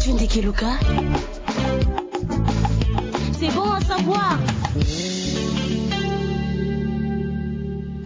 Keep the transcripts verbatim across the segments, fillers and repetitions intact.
Tunde Keluka. C'est bon à savoir.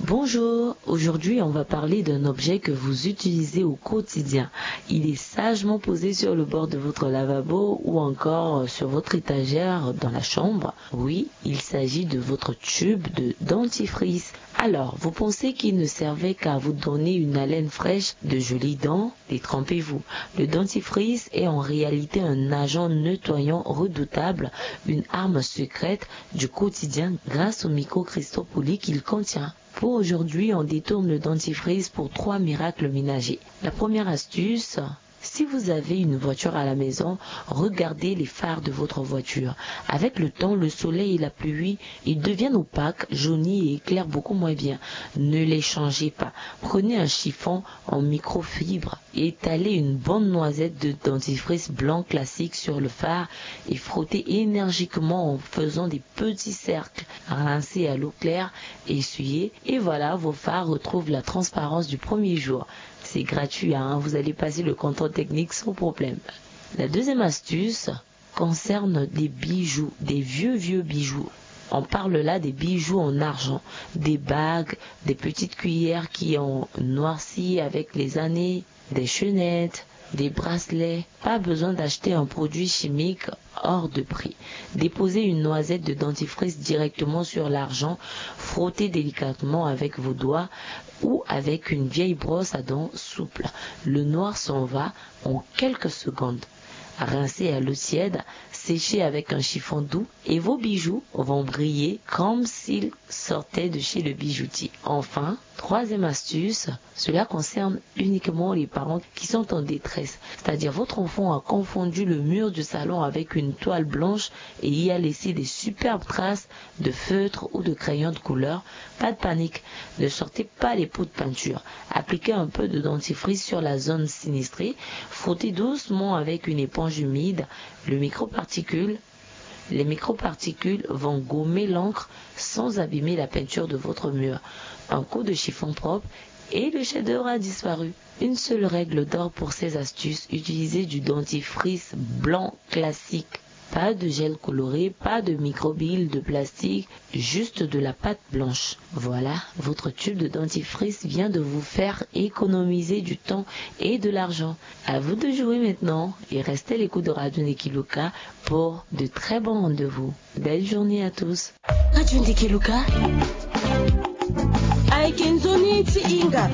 Bonjour, aujourd'hui on va parler d'un objet que vous utilisez au quotidien. Il est sagement posé sur le bord de votre lavabo ou encore sur votre étagère dans la chambre. Oui, il s'agit de votre tube de dentifrice. Alors, vous pensez qu'il ne servait qu'à vous donner une haleine fraîche, de jolies dents ? Détrompez-vous. Le dentifrice est en réalité un agent nettoyant redoutable, une arme secrète du quotidien grâce aux microcristaux polis qu'il contient. Pour aujourd'hui, on détourne le dentifrice pour trois miracles ménagers. La première astuce, si vous avez une voiture à la maison, regardez les phares de votre voiture. Avec le temps, le soleil et la pluie, ils deviennent opaques, jaunis et éclairent beaucoup moins bien. Ne les changez pas. Prenez un chiffon en microfibre, étalez une bonne noisette de dentifrice blanc classique sur le phare et frottez énergiquement en faisant des petits cercles. Rincez à l'eau claire, essuyez et voilà, vos phares retrouvent la transparence du premier jour. C'est gratuit, hein, vous allez passer le contrôle technique sans problème. La deuxième astuce concerne des bijoux, des vieux, vieux bijoux. On parle là des bijoux en argent, des bagues, des petites cuillères qui ont noirci avec les années, des chaînettes, des bracelets. Pas besoin d'acheter un produit chimique hors de prix. Déposez une noisette de dentifrice directement sur l'argent, frottez délicatement avec vos doigts ou avec une vieille brosse à dents souple. Le noir s'en va en quelques secondes. Rincez à l'eau tiède, séchez avec un chiffon doux et vos bijoux vont briller comme s'ils sortaient de chez le bijoutier. Enfin, troisième astuce, cela concerne uniquement les parents qui sont en détresse. C'est-à-dire votre enfant a confondu le mur du salon avec une toile blanche et y a laissé des superbes traces de feutre ou de crayon de couleur. Pas de panique, ne sortez pas les pots de peinture. Appliquez un peu de dentifrice sur la zone sinistrée, frottez doucement avec une éponge humide. Le microparticule Les microparticules vont gommer l'encre sans abîmer la peinture de votre mur. Un coup de chiffon propre et le chef-d'œuvre a disparu. Une seule règle d'or pour ces astuces, utilisez du dentifrice blanc classique. Pas de gel coloré, pas de microbilles de plastique, juste de la pâte blanche. Voilà, votre tube de dentifrice vient de vous faire économiser du temps et de l'argent. À vous de jouer maintenant et restez à l'écoute de Radio Nekiluka pour de très bons rendez-vous. Belle journée à tous. Radio Nekiluka. Aye ke nzoni ti hinga.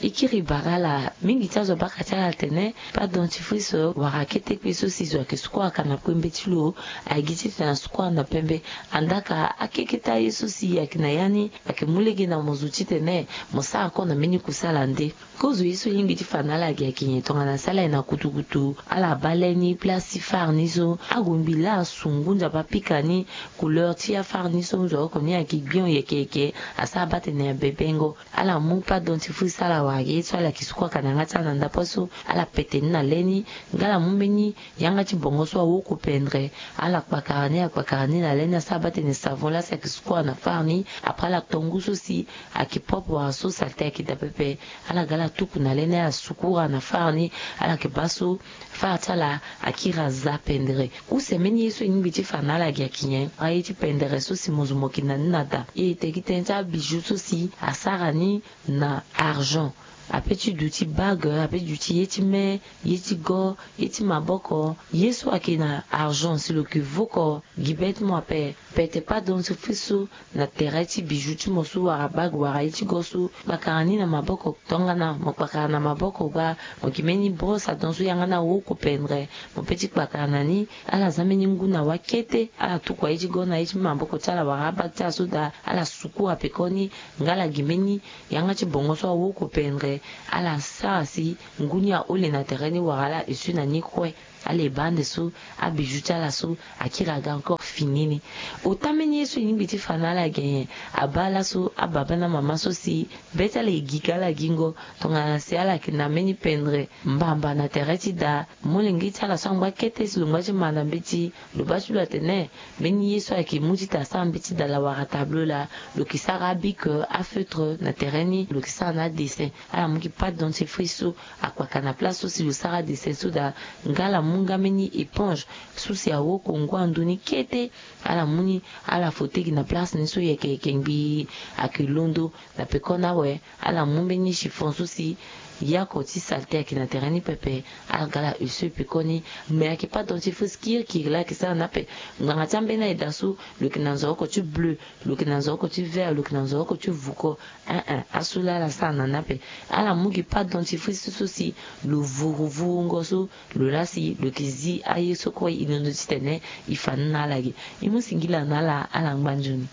E kiri bara ala mingi ti azo abaka ti ala atene pâte dentifrice wara akete kpe so si zo ayeke suku aka na kue mbeti lo. Aye gi titene asuku aka na pembe. Andaa ka akeketa ye so si ayeke na ya ni ayeke mu lege na mo zo titene mo sara kue na mbeni kusala nde. Kozo ye so e lingbi ti fa na ala gi ayeke nyen? Tongana si ala ye na kutukutu, ala baa le ni place ti fare ni so, ague ngbi laa asu ngu nzapa apika ni. Couleur ti afare ni so nzoko ni ayeke gbion yeke yeke. Asara baa tene abebengo. Ala mu pâte dentifrice ala wara gi ye so ala yeke suku aka na yanga ti ala na ndapre so, ala pete ni na le ni. Nga ala mu mbeni yanga ti bongo so awoko pendre, ala kpakara ni, ala kpakara ni na le ni, asara baa tene savon laa si ayeke suku aka na fare ni. Après ala to ngu so si ayeke propre wala so saleté ayeke daa pepe. Ala ga ala tuku na le ni, ala suku aka na fare ni. Ala yeke baa so fare ti ala akiri aza pendre. Use mbeni ye so e lingbi ti fa na ala gi ayeke nyen? Aye ti pendere so si mo zo mo yeke na ni na daa. E tene gi tënë ti abiju so si asara ni na argent. Ape ti duti bague, ape ti duti ye ti me, ye ti go, ye ti maboko, ye so ayeke na argent si lo yeke voko gi be ti mo ape. Pete pâte dentifrice so na tere ti biju ti mo so wara bague wara ye ti go so, kpakara ni na maboko. Tongana mo kpakara na maboko gbaa, mo gi mbeni brosse à dents so yanga ni awoko pendre, mo pe ti kpakara na ni. Ala za mbeni ngu na wa kete, ala tuku aye ti go na ye ti maboko ti ala wara abague ti ala so daa, ala suku apekoni. Nga ala gi mbeni yanga ti bongo so awoko pendre, ala sara si ngu ni ahole na tere ni wala ala esui na ni kue. ala e baa ande so abiju ti ala so akiri aga encore fini ni. Ota mbeni ye so e lingbi ti fa na ala ge nyen? Abaa laso ababa na mama so si be ti ala e gi ga ala gingo, tongana si ala yeke na mbeni pendre mbamba na tere ti daa, molenge ti ala so angba kete si lo ngba ti ma na mbeti, lo baa ti lo atene mbeni ye so ayeke mu ti ta sara mbeti dala wala tableau laa, lo yeke sara abic, afeutre na tere ni, lo yeke sara na adessin. Ala mu gi pâte dentifrice so akpaka na place so si lo sara adessin so daa, nga ala mu nga mbeni éponge so si awoko ngu ando ni kete. Ala mu ni, ala frotter gi na place ni so yeke yeke ngbii, ayeke londo. Na pekoni awe, ala mu mbeni chiffon so si yako ti saleté ayeke na tere ni pepe. Ala ga ala use pekoni. Mais ayeke pâte dentifrice kirikiri laa ayeke sara na ape. Ngbanga ti ambeni aye daa so, lo yeke na nzoroko ti bleu, lo yeke na nzoroko ti vert, lo yeke na nzoroko ti vuko. Ein ein, asu laa ala sara na ni ape. Ala mu gi pâte dentifrice so si lo vuru vurungo so, lo laa si lo yeke zi aye so kue e londo titene e fa ni na ala ge. E mu singila na ala, ala ngba nzoni.